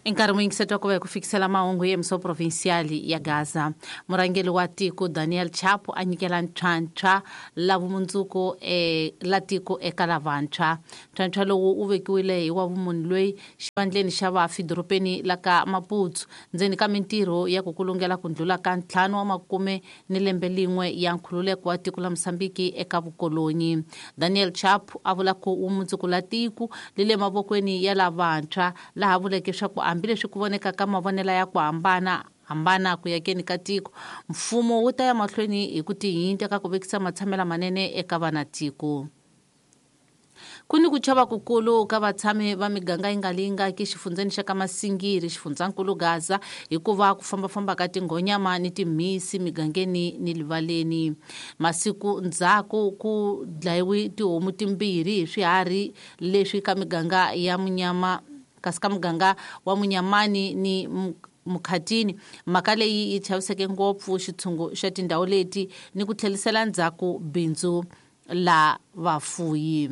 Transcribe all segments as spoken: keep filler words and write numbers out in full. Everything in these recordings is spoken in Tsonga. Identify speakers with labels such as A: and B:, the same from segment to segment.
A: Nkarhi muyingiseti wa ku va hi ku fikisela mahungu hi emso provincial ya Gaza. Murhangeri wa tiko Daniel Chapo a nyikela ntlhantlha la vumundzuku e la tiko eka lavantshwa. Ntlhantlha lowu wu vekiwile hi wa vumunhu loyi xivandleni xa vafi dorobeni la ka Maputo ndzeni ka mintirho ya ku kulungela ku ndlula ka ntlhanu wa makume ni lembe lin'we ya nkhululeko wa tiko la Mozambiki eka vukolonyi. Daniel Chapo a vula ku vumundzuku la tiko li le mavokweni ya lavantshwa, laha vuleke swa ku hambileswi ku voneka ka mavonelo ya ku hambana hambana ku yakeni ka tiko, mfumo wu ta ya mahlweni hi ku tihinta ka ku vekisa matshamela manene eka vana tiko. Ku ni ku chava kukulu ka vatshami va miganga yi nga lingaki xifundzeni xa ka Masingiri xifundzankulu Gaza hikuva ku fambafamba ka tinghonyama ni timhisi migangeni ni livaleni. Masiku ndzhaku ku dlayiwe tihomu timbirhi hi swiharhi leswi ka miganga ya Munyama kasi ka muganga wa Munyamani ni Mukhatini. Mhaka leyi yi chaviseke ngopfu xitshungu xa tindhawu leti ni ku tlhelisela ndzhaku bindzu la vafuyi.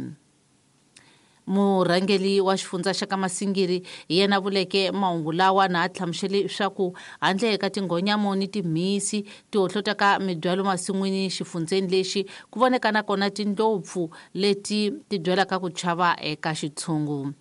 A: Murhangeri wa xifundza xa ka Masingiri hi yena vuleke mahungu lawa na a hlamusele swa ku handle ka tinghonyamo ni timhisi ti hohlota ka mibyalo masin'wini xifundzeni lexi ku voneka na kona tindlopfu leti ti byalaka ku chava eka xitshungu.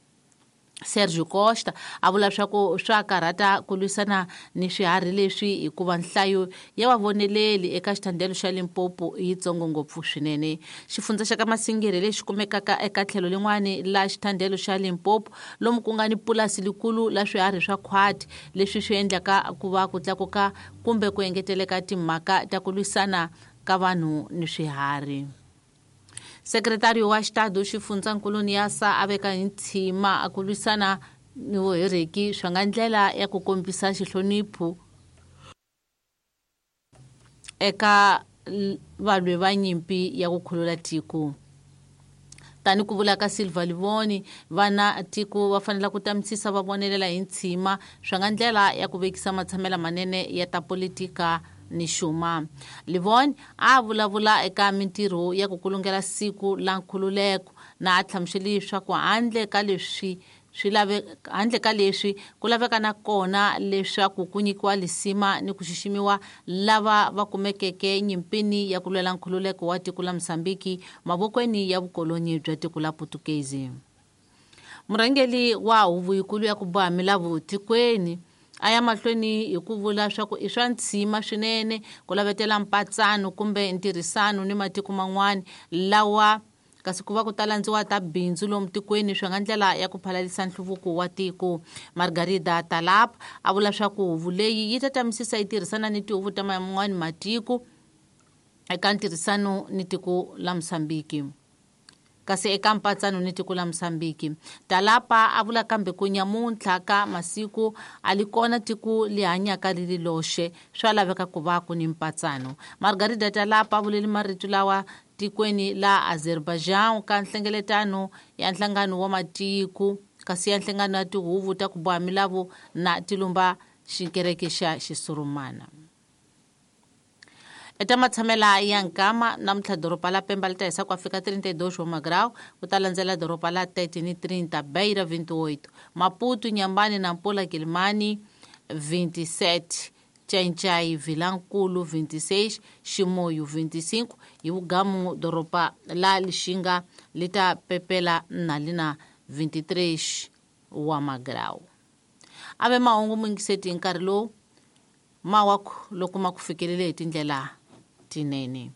A: Sergio Costa a vula swa ku swa karhata ku lwisana ni swiharhi leswi hikuva nhlayo ya vavoneleli eka xithandelo xa Limpopo yi tsongo ngopfu swinene. Xifundza xa ka Masingiri lexi kumekaka eka tlhelo lin'wani la xithandelo xa Limpopo lomu ku nga ni pulasi likulu la swiharhi swa khwati leswi swi endlaka ku va ku tlakuka kumbe ku engeteleka timhaka ta ku lwisana ka vanhu ni swiharhi. Sekretari wa Xitado xifundzankulu Niasa a veka hi ntshima a ku lwisana ni vuhereki swa nga ndlela ya ku kombisa xihlonipho eka valwi va nyimpi ya ku khulula tiko. Tani ku vula ka Silva Livoni, vana tiko va fanele ku tamisisa va vonelela hi ntshima swa nga ndlela ya ku vekisa matshamela manene ya ta politika ni xuma. Livoni a vulavula eka mintirho ya ku kulungela siku la nkhululeko na a hlamusele leswaku handle ka leswi swi lave handle ka leswi ku laveka na kona leswaku ku nyikiwa lisima ni ku xiximiwa lava va kumekeke nyimpini ya ku lwela nkhululeko wa tiko la Mozambiki mavokweni ya vukoloni bya tiko la Putukezi. Murhangeri wa huvo yikulu ya ku boha milawu tikweni a ya mahlweni hi ku vula swa ku i swa ntshima swinene ku lavetela mpatsano kumbe ntirhisano ni matiko man'wana lawa kasi ku va ku talandziwa ta bindzu lomu tikweni swi nga ndlela ya ku phalalisa nhluvuko wa tiko. Margarida Talap a vula swa ku huvo leyi yi ta tamisisa yi tirhisana ni tihuvo ta man'wana matiko eka ntirhisano ni tiko la Mozambiki. Kasi eka mpatsano ni tiko la Mozambiki. Talapa a vula kambe ku nyamuntlha ka masiku a li kona tiko li hanyaka ri ri loxe swa laveka ku va ku ni mpatsano. Margarida Talapa a vulele marito lawa tikweni la Azerbaijan ka nhlengeletano ya nhlangano wa matiko kasi ya nhlangano ya tihuvo ta ku boha milawu na tilumba xikereke xa Xisurumana. Eta matshamela ya nkama namuntlha doroba la Pemba li ta hisa ku fika trinta e dois wa magrau, ku ta landzela doroba la Tete ni trinta, Beira vinte e oito, Maputo, Inhambane, Nampula, Quelimane vinte e sete, Xai-Xai, Vilankulu vinte e seis, Chimoio vinte e cinco hi vugamu doroba la Lixinga li ta pepela na lina vinte e três wa magrau. Ave mahungu muyingiseti hi nkarhi lowu mawaku loko ma ku fikelele hi tindlela tinene.